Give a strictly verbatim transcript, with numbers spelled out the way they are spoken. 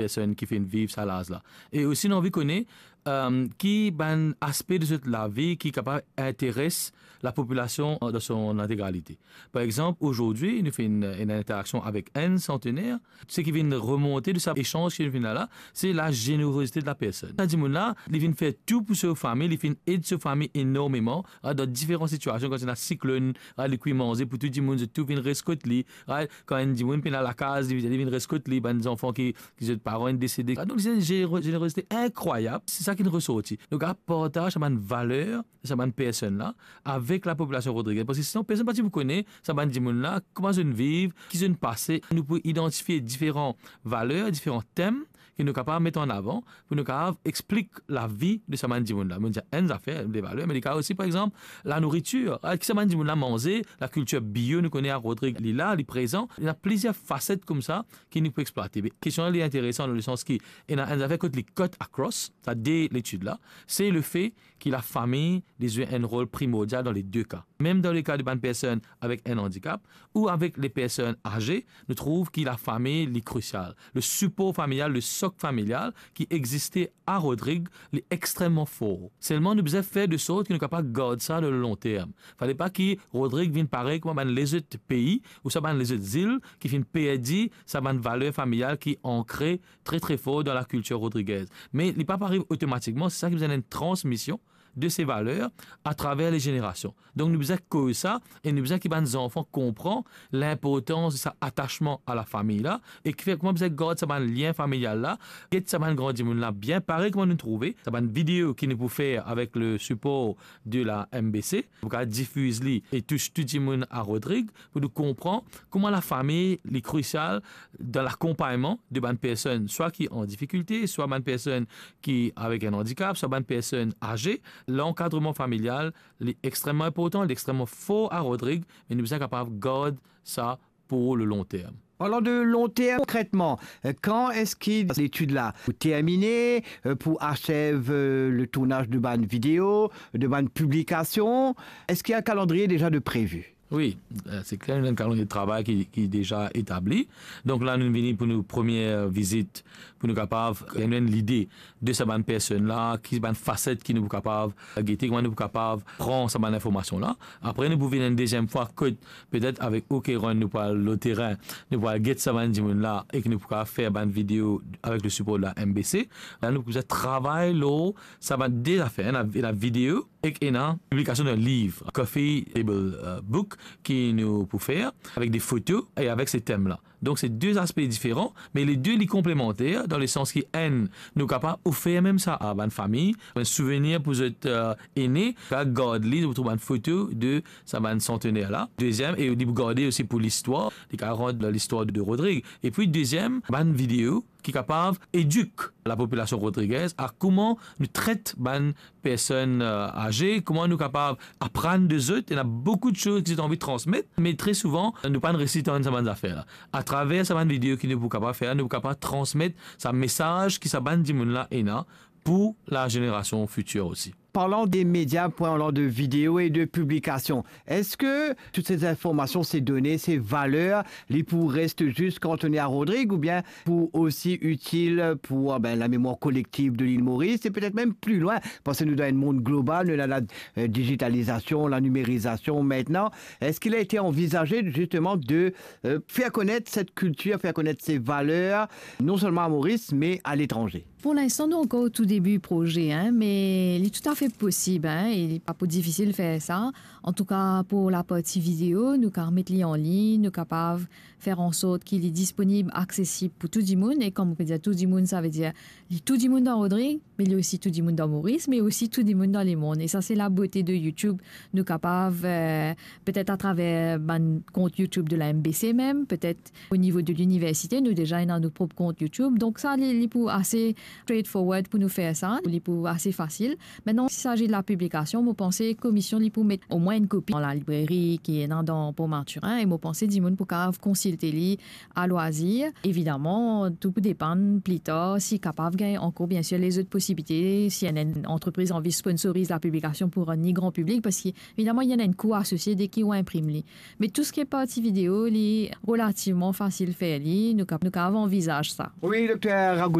personn ki finn viv sa laz la. E osi, nou anvi kone, euh, ki bann aspe de zot lavi ki kapav interes lapopilasion dan son integralite. Par exanp, azordi, nou finn, euh, ena enn interaksion avek enn santener. Seki vinn remonte de sa esanz ki nou finn ena la, se la zenerozite de la personn. Sa dimoun la, li vinn fer tou pou sov fami, li finn ed sov fami enormeman, ah, dan diferan sitiasion, kan ti ena siklonn, ah, li kwi manze pou tou dimoun, zot tou vinn res kot li, ah, kan enn dimoun pena lakaz, li, li vinn res kot li, bann zanfan ki, ki zot paran inn desede. Ah, donk, se enn zenero-, zenerozite inkrwayab, se sa ki resorti. Donk, ah, partaz sa bann valer, sa bann personn la, avek lapopilasion rodrigez. Parski sinon, personn pa ti pou kone sa bann dimoun la, kouma zot inn viv, ki zot inn pase. Nou pou idantifie diferan valer, diferan tem ki nou kapav met an avan pou nou kapav explik lavi de sa bann dimoun la. Mo dir enn zafer, de valer, me li kapav osi, par exanp, lanouritir. Ah, ki sa bann dimoun la manze, lakiltir bio, nou kone a Rodrig, li la, li prezan. Ena plizier faset koumsa ki nou pou explwate. Me kestion la, li interesan dan lesans ki ena enn zafer kot li cut across sa de letid la, se lefe ki lafami, li zwe enn rol primordial dan le de ka. Mem dan le ka de bann personn avek enn andikap ou avek le personn aze, nou trouv ki lafami, li krisial. Le sipor familial, le sok familial ki existe a Rodrig, li extrememan for. Selman, nou bizin fer de sort ki nou kapav gard sa dan le lon term. Fale pa ki Rodrig vinn parey kouma bann lezot pei ou sa bann lezot zil ki finn perdi sa bann valer familial ki ankre tre, tre for dan lakiltir rodrigez. Me li pa pou ariv otomatikman, se sa ki bizin enn transmision de se valer atraver le zenerasion. Donk, nou bizin koz sa e nou bizin ki bann zanfan konpran linportans de sa atasman a lafami la e ki fer kouma bizin gard sa bann lien familial la, get sa bann gran dimoun la bien parey kouma nou trouve sa bann video ki nou pou fer avek le sipor de la M B C, pou kapav difiz li e tous tou dimoun a Rodrig, pou nou konpran kouma lafami, li krisial dan lakonpagnman de bann personn, swa ki an difikilte, swa bann personn ki avek enn andikap, swa bann personn aze. Lankadreman familial, li extrememan inportan, li extrememan for a Rodrig, me nou bizin kapav gard sa pou le lon term. Parlan de lon term, konkretman, euh, kan eski letid la pou termine, euh, pou asev, euh, le tournaz de bann video, de bann piblikasion? Eski enn kalandriye deza de previ? Wi, euh, se kler, nou ena enn kalandriye travay ki, ki deza etabli. Donk la, nou vini pou nou premie vizit, pou nou kapav gagn enn lide de sa bann personn la, ki bann faset ki nou pou kapav gete, kouma nou pou kapav pran sa bann informasion la. Apre, nou pou vinn enn deziem fwa kot, petet avek Okeron, nou pou al lor terin, nou pou al get sa bann dimoun la e ki nou pou kapav fer bann video avek le sipor de la M B C. La, nou pou bizin travay lor sa bann de zafer, ena, ena video ek ena piblikasion dan liv, Coffee Table, euh, Book, ki nou pou fer avek de foto e avek se tem la. Donk, se de zaspe diferan, me le de, li konplemanter, dan lesans ki enn, nou kapav ofer mem sa a bann fami, enn souvenir pou zot, euh, ene, kapav gard li, zot pou trouv bann foto de sa bann santener la. Deziem, e li pou garde osi pou listwar, li kapav rant listwar de Rodrig. Epi deziem, bann video ki kapav edik lapopilasion rodrigez a kouma nou tret bann personn, euh, aze, kouma nou kapav aprann de zot. Ena boukou de soz ki zot anvi transmet, me tre souvan, nou pa'nn resi tann sa bann zafer la. Atraver sa bann video ki nou pou kapav fer, nou pou kapav transmet sa mesaz ki sa bann dimoun la ena pou la zenerasion fitir osi. Parlan de media, parlan de video e de piblikasion, eski tout se zinformasion, se done, se valer, li pou reste zis kantone a Rodrig oubien pou osi itil pou, ah ben, lamemwar kolektiv de lil Moris e petet mem pli lwin, parski nou dan enn mond global, nou ena la, euh, digitalizasion, la nimerizasion aster. Eski li ete anvizaze zisteman de, euh, fer konet set kiltir, fer konet se valer, non selman a Moris, me aletranze? Pou linstan, nou ankor o tou debi proze, hein, me li toutafe posib, hein, e li pa pou difisil fer sa. Antouka, pou laparti video, nou kapav met li anlign, nou kapav fer ansort ki li disponib, aksesib pou tou dimoun. E kan mo pe dir tou dimoun, savedir li tou dimoun dan Rodrig, me li osi tou dimoun dan Moris, me osi tou dimoun dan lemond. E sa, se labote de YouTube. Nou kapav, euh, petet atraver bann kont YouTube de la M B C mem, petet o nivo de liniversite, nou deza ena nou prop kont YouTube. Donk sa, li, li pou ase straightforward pou nou fer sa, li pou ase fasil. Mintnan, Ki sazi de la piblikasion, mo panse komision li pou met omwin enn kopi dan lalibreri ki ena dan Port Mathurin, e mo panse dimoun pou kapav konsilte li a lwazir. Evidaman, tou pou depann pli tar si kapav gagn ankor, biensir, lezot posibilite, si enn, enn antrepriz anvi sponsoriz la piblikasion pou rann li gran piblik, parski evidaman, li ena enn kou asosie deki ou inprim li. Me tou seki parti video, li relativman fasil fer li, nou kapav, nou kapav anvizaz sa. Wi, Dokter Rago.